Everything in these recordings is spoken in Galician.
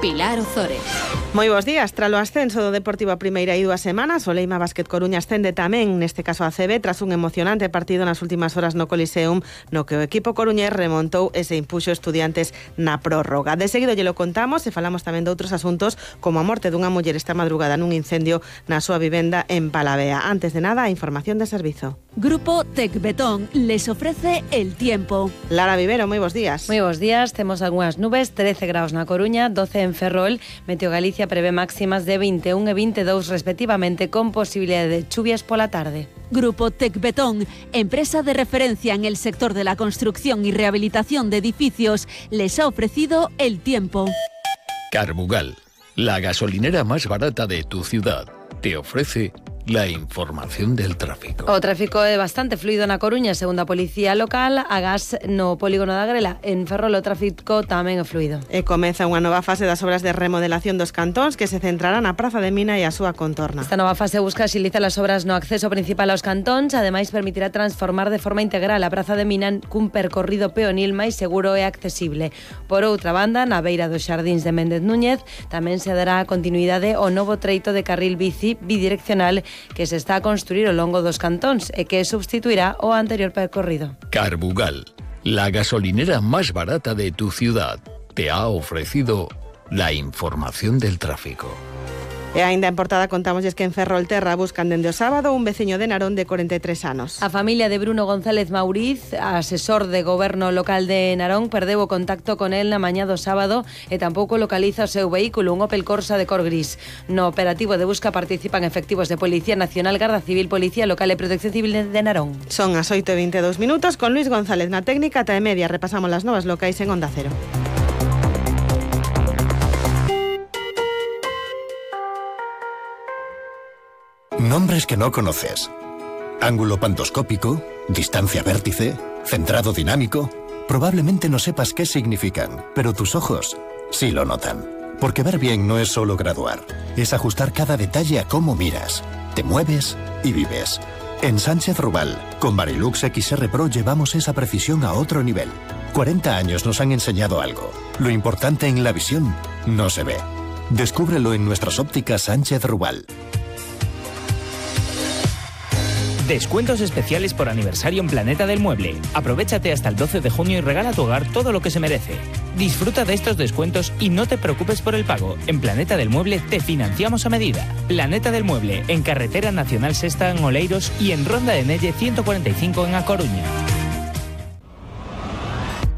Pilar Ozores. Moi bons días. Tras o ascenso do Deportivo a primeira e 2 semanas, o Leima Basket Coruña ascende tamén, neste caso a CB, tras un emocionante partido nas últimas horas no Coliseum, no que o equipo coruñés remontou e se impuxo Estudiantes na prórroga. De seguido lle lo contamos e falamos tamén de outros asuntos, como a morte dunha muller esta madrugada nun incendio na súa vivenda en Palavea. Antes de nada, a información de servizo. Grupo Tecbetón les ofrece el tiempo. Lara Vivero, moi bons días. Moi bons días, temos algunhas nubes, 13 graus na Coruña, 12 en Ferrol. Meteo Galicia prevé máximas de 21 e 22 respectivamente, con posibilidad de chuvias pola tarde. Grupo Tecbetón, empresa de referencia en el sector de la construcción y rehabilitación de edificios, les ha ofrecido el tiempo. Carbugal, la gasolinera más barata de tu ciudad, te ofrece la información del tráfico. O tráfico é bastante fluido na Coruña, segundo a Policía Local, a gas no polígono da Grela. En Ferrol o tráfico tamén é fluido. E comeza unha nova fase das obras de remodelación dos cantóns que se centrarán na Praza de Mina e a súa contorna. Esta nova fase busca axilizar as obras no acceso principal aos cantóns, ademais permitirá transformar de forma integral a Praza de Mina cun percorrido peonil máis seguro e accesible. Por outra banda, na beira dos xardíns de Méndez Núñez, tamén se dará continuidade ao novo treito de carril bici bidireccional que se está a construir ao longo dos cantóns e que substituirá o anterior percorrido. Carbugal, la gasolinera más barata de tu ciudad, te ha ofrecido la información del tráfico. E aínda en portada contámosles que en Ferrolterra buscan dende o sábado un veciño de Narón de 43 anos. A familia de Bruno González Mauriz, asesor de goberno local de Narón, perdeu o contacto con el na mañá do sábado e tampouco localiza o seu vehículo, un Opel Corsa de cor gris. No operativo de busca participan efectivos de Policía Nacional, Garda Civil, Policía Local e Protección Civil de Narón. Son as 8:22 minutos, con Luis González na técnica, ata e media repasamos las novas locais en Onda Cero. Nombres que no conoces. Ángulo pantoscópico, distancia vértice, centrado dinámico. Probablemente no sepas qué significan, pero tus ojos sí lo notan. Porque ver bien no es solo graduar, es ajustar cada detalle a cómo miras, te mueves y vives. En Sánchez Rubal, con Varilux XR Pro llevamos esa precisión a otro nivel. 40 años nos han enseñado algo. Lo importante en la visión no se ve. Descúbrelo en nuestras ópticas Sánchez Rubal. Descuentos especiales por aniversario en Planeta del Mueble. Aprovéchate hasta el 12 de junio y regala a tu hogar todo lo que se merece. Disfruta de estos descuentos y no te preocupes por el pago. En Planeta del Mueble te financiamos a medida. Planeta del Mueble, en Carretera Nacional Sexta en Oleiros y en Ronda de Nelle 145 en A Coruña.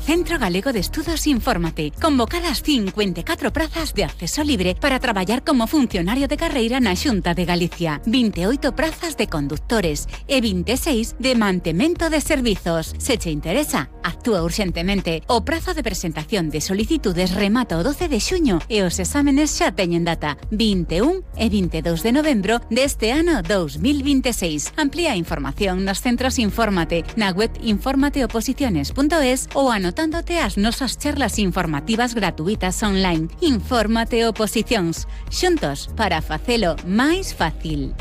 Centro Galego de Estudos Infórmate. Convocadas 54 prazas de acceso libre para traballar como funcionario de carreira na Xunta de Galicia. 28 prazas de conductores e 26 de mantemento de servizos. Se che interesa, actúa urxentemente. O prazo de presentación de solicitudes remata o 12 de xuño e os exámenes xa teñen data 21 e 22 de novembro deste ano 2026. Amplía a información nos centros Infórmate, na web informateoposiciones.es ou anotándote as nosas charlas informativas gratuitas online. Infórmate Oposicións. Xuntos para facelo máis fácil.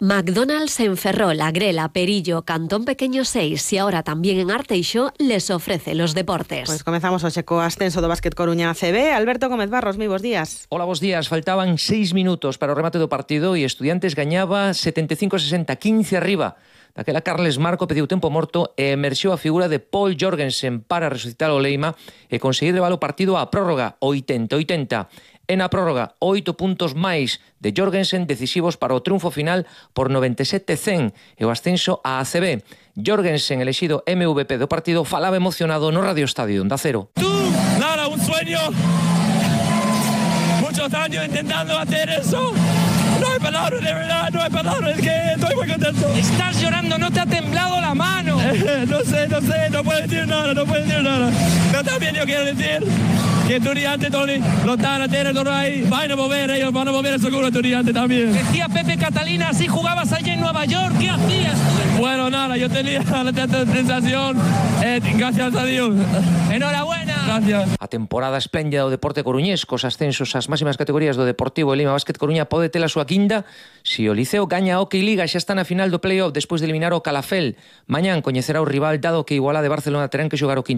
McDonald's en Ferrol, Agrela, Perillo, Cantón Pequeño 6 y ahora también en Arteixo les ofrece los deportes. Pues comezamos hoxe co ascenso do Básquet Coruña CB. Alberto Gómez Barros, moi bons días. Hola, bons días. Faltaban 6 minutos para o remate do partido e Estudiantes gañaba 75-60, 15 arriba. Daquela Carles Marco pediu tempo morto e emerxeu a figura de Paul Jorgensen para resucitar o Leima e conseguir levar o partido á prórroga 80-80. E na prórroga, 8 puntos máis de Jorgensen decisivos para o triunfo final por 97-100 e o ascenso á ACB. Jorgensen, elexido MVP do partido, falaba emocionado no Radio Estadio Onda Cero. Nada, un sueño. Muchos años intentando hacer eso. No hay palabras, de verdad, no hay palabras, es que estoy muy contento. Estás llorando, ¿no te ha temblado la mano? No sé, no puedo decir nada. Pero también yo quiero decir que Estudiantes, Tony, lo están a tener todo ahí. Van a mover ellos, van a mover seguro Estudiantes también. Decía Pepe Catalina, si jugabas allá en Nueva York, ¿qué hacías? Bueno, nada, yo tenía la sensación, gracias a Dios. Enhorabuena. Gracias. A temporada espléndida do deporte coruñés, cos ascensos ás máximas categorías do Deportivo e Lima Basket Coruña pode ter a súa quinta si o Liceo gaña a Hockey Liga, xa está na final do playoff despois de eliminar o Calafel. Mañán coñecerá o rival dado que iguala de Barcelona terán que xogar o quinto